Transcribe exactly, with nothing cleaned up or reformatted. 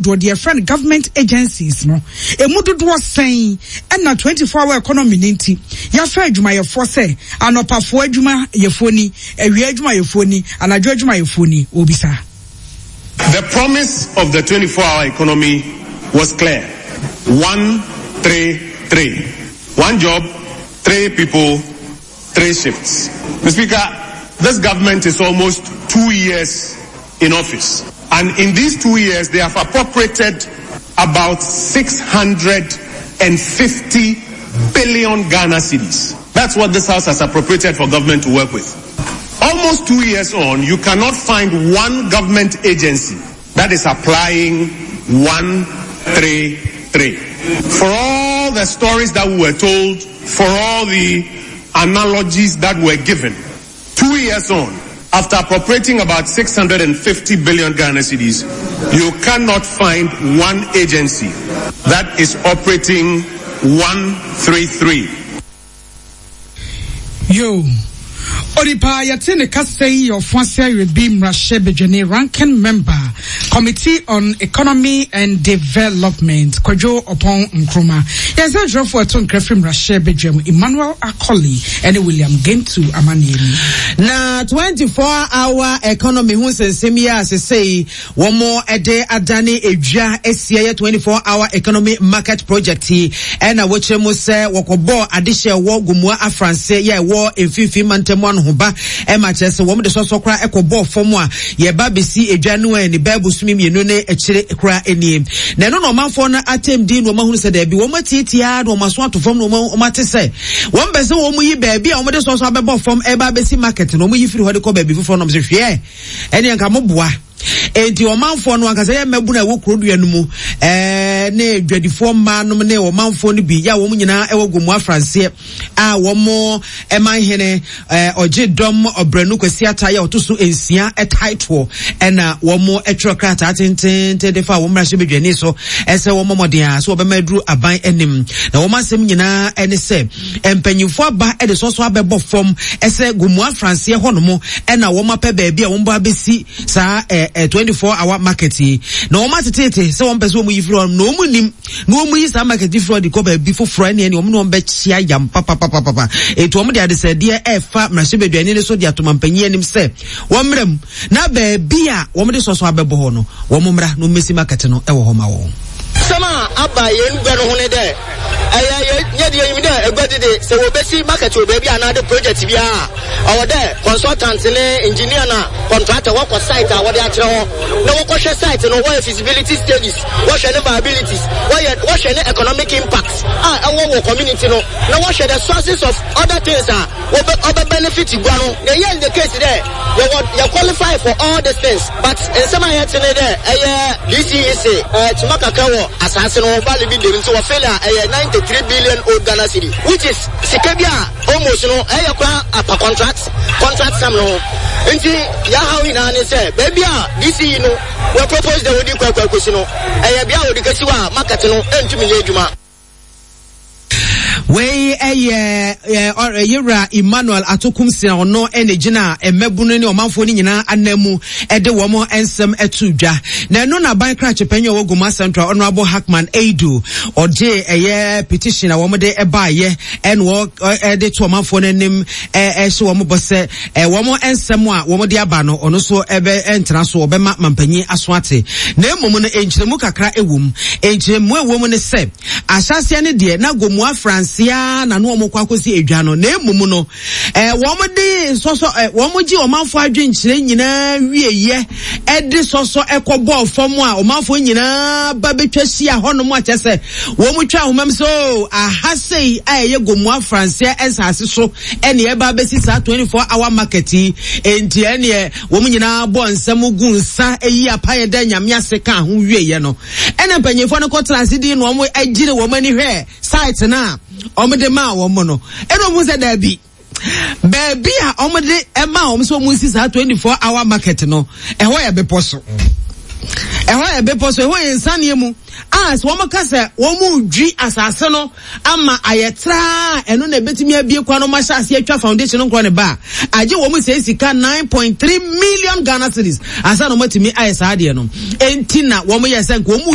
Dodoɔ deɛ yɛfrɛ no government agencies no, emu dodoɔ sɛn na twenty four hour economy no nti yɛafa adwumayɛfoɔ sɛ anɔpafoɔ adwumayɛfoɔ ni, awia adwumayɛfoɔ ni, anadwo adwumayɛfoɔ ni? Wɔbisa. The promise of the twenty four hour economy was clear, one, three, three. One job, three people, three shifts. Mister Speaker, this government is almost two years in office. And in these two years, they have appropriated about six hundred and fifty billion Ghana cedis. That's what this house has appropriated for government to work with. Almost two years on, you cannot find one government agency that is applying one, three, three. For all the stories that we were told, for all the analogies that were given, two years on, after appropriating about six hundred and fifty billion Ghana cedis, you cannot find one agency that is operating one three three. Yo, Onipa yɛte ne kasa yi yɛ Ɔfoase Awerɛbi mmarahyɛ badwani, ranking member, Committee on Economy and Development, Kwadwo Ɔpɔn Nkrumah. Yɛn sɛ ntwerɛfoɔ ɛto nkra firi mmarahyɛ badwam, Emmanuel Akoli ɛne William Gentu amanneɛ ni. Na twenty-four hour economy ho nsɛnsɛm yi a sesei wɔn de adane edwa asia yɛ twenty-four hour economy market project yi, ɛna wɔkyerɛ mu sɛ wɔkɔbɔɔ adehyɛ wɔ Gomua Afranse yɛ ɛwɔ mfimfini mantam ano ho ba, ɛma kyerɛ sɛ wɔn de sɔsɔ koraa ɛkɔbɔɔ fam a yɛba besi edwa no a ne bɛɛ bosome mmienu ne akyire koraa nie. Na ɛno na ɔmanfoɔ no atem din na wɔn ahunu sɛ daabi wɔn atiatia na wɔn aso ato fam na wɔn, wɔn ate sɛ wɔn bɛ sɛ wɔn yi baabi a wɔn de sɔsɔ abɛbɔ fam ɛba abɛsi market na wɔn yi firi hɔ de kɔ baabi foforɔ na wɔn sɛ hwɛ ɛne nka mo boa. Enti ɔmanfoɔ no ankasa yɛ mmabunu a ɛwɔ kurodua no mu, ɛɛ, ne dwadifoɔ mmaa nom ne ɔmanfoɔ no bi yɛ a wɔn nyinaa ɛwɔ Gomoa Franseɛ a wɔn ɛman hene, ɛɛ, ɔgye dɔm ɔbrɛnu Kwasi Ata yɛ ɔto so nsia ɛtaetoɔ ɛna wɔn ɛtwerɛ krataa tententen de fa wɔn mmarahyɛ badwani so ɛsɛ wɔn mmɔden a so wɔbɛma aduru aban anim. Na wɔn asɛm nyinaa ɛne sɛ mpanyinfoɔ aba ɛde sɔsɔ abɛbɔ fam ɛsɛ Gomoa Franseɛ hɔnom ɛna wɔn apɛ baabi a wɔn ba abɛsi saa, ɛɛ, ɛɛ, twenty-four hour market yi. Na wɔn atetete sɛ wɔn pɛ sɛ wɔn yi firi hɔ na wɔn nim na wɔn yi saa market yi firi hɔ de kɔ baabi foforɔ ɛne ɛne wɔn ne wɔn bɛkyia yam papapapapa. Etu wɔn de adesɛdeɛ ɛɛfa mmarahyɛbadwani ne so de ato mampanyin anim sɛ wɔn mmerɛ mu na baabi a wɔn de sɔsɔ abɛbɔ hɔ no wɔn mmra na wɔn mmɛsi market no ɛwɔ hɔ ma wɔn. Sɛm a aba yɛn gua no ho ne dɛ ɛyɛ yɛ nyɛ deɛ yɛn dɛ egua dede sɛ wɔbɛsi market wɔ baabi anaade project biara ɔwɔ dɛ consultant ne engineer na contractor wɔkɔ site a wɔde akyerɛ hɔ na wɔkɔhwɛ site no, wɔyɛ feasibility studies, wɔhwɛ ne viabilities, wɔyɛ wɔhwɛ ne economic impact a ɛwɔ wɔ community no, na wɔhwɛ the sources of other things a wɔbɛ ɔbɛ benefit gua no. Na ɛyɛ in the case dɛ yɛwɔ yɛ qualify for all these things, but nsɛm a yɛte ne dɛ ɛyɛ D C E C ɛɛ kyima kakra wɔ asase no valley bi dem nti wɔ fail a ɛyɛ ninety-three billion old Ghana cedi, which is sika bi a almost no ɛyɛ kora apa contract, contract sum no. Nti yahaw nyinaa ne sɛ baabi a D C E no wɔ propose dɛ wodi kɔ akɔ akɔsi no ɛyɛ bea a wodi kɛsi hɔ a market no ɛntumi nyɛ adwuma. Wei ɛyɛ, ɛ, ɔ, Yewura Emmanuel Atokumsi a ɔno ɛna gyina mmabunu ne ɔmanfoɔ no nyinaa anan mu ɛde wɔn nsɛm ɛto dwa. Na ɛno na aban krakye panyin a ɔwɔ Gomoa Central, Honorable Hackman Eidu, ɔgye ɛyɛ petition a wɔn de ɛbaayɛ ɛna wɔ, ɔ, ɛde to ɔmanfoɔ no anim, ɛ, ɛhyɛ wɔn bɔ sɛ, ɛ, wɔn nsɛm a wɔn de aba no, ɔno nso ɛbɛ ɛntena so, ɔbɛma mampanyin aso ate. Na mmom no, nkyerɛmu kakra ɛwɔ mu. Nkyerɛmu ɛwɔ mu ne sɛ, ahyɛaseɛ ne deɛ na Gomoa Fransia na no wɔn kɔ akɔsi edwa no. Na mmom no, ɛ, wɔn de sɔsɔ, ɛ, wɔn gye ɔmanfoɔ adwenkyerɛ nyinaa wieyɛ, ɛde sɔsɔ ɛkɔ bɔɔ fam a ɔmanfoɔ nyinaa ba bɛtwa hyia hɔnom a kyerɛ sɛ wɔn twa ahoma mu sɛ, oh, aha sei a ɛyɛ Gomoa Fransia nsaase so ɛne ɛba abɛsi saa twenty-four hour market yi. Enti ɛneɛ wɔn nyinaa bɔ nsɛm gu nsa eyi apayɛ dɛ Nyame ase ka ho wieyɛ no. Ɛna mpanyinfoɔ no kɔtena ase di na wɔn agyere wɔn ani hwɛ site na wɔn de maa wɔn no. Ɛna wɔn sɛ daabi. Baabi a wɔn de maa wɔn sɛ wɔn nsi saa twenty-four hour market no, ɛhɔ yɛ bepɔ so. Ɛhɔ yɛ bepɔ so, ɛhɔ yɛ nsaneɛ mu. A sɛ wɔn ka sɛ wɔn redwi asase no ama ayɛ traa, ɛno na ebetumi abie kwan no ma hyɛ aseɛ atwa foundation no nkorɔ ne ba. Agye wɔn sɛ sika nine point three million Ghana cedis ansa na wɔn atumi ayɛ saa adeɛ no. Enti na wɔn yɛ sɛ nka wɔn